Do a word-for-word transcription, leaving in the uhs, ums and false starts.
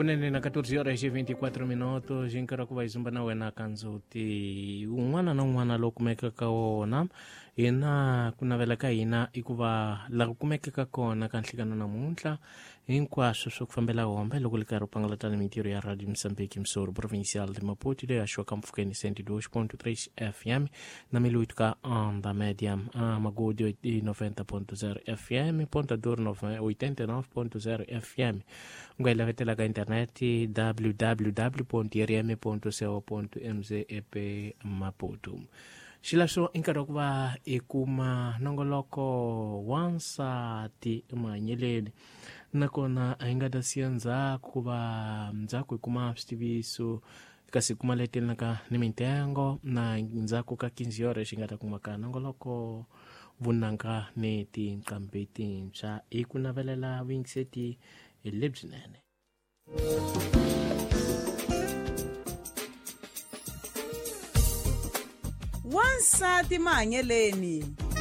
Kunene na catorze horas e vinte e quatro minutos nkarhi wa ku va hi zumba na wena ka ndzhuti un'wana na un'wana lowu kumekaka wona hina ku navela ka hina i ku va laha ku kumekaka kona ka nhlikano namuntlha hinkwaswo swo ku fambela hombe loko li karhi u pangalatana mintirho ya Radio Moçambique Msoro Provincial de Maputo leyi haxiwaka mpfhukeni cento e dois ponto três F M na Miluito ka Onda Média Magude noventa ponto zero F M Ponta Dor oitenta e nove ponto zero F M u nga yi lavetela ka internet w w w ponto r m ponto co ponto m z e p Maputo. Xilahlo i nkarhi wa ku va hi kuma nongoloko wa nsati emahanyeleni nakona a hi nga ta siya ndzhaku ku va ndzhaku hi kuma switiviso kasi kuma letelaka ni mintengo na ndzhaku ka quinze horas xi nga ta kuma ka nongoloko vunanga ni tinqambi tintshwa hi ku navelela vuyingiseti lebyinene. Wansati mahanyeleni.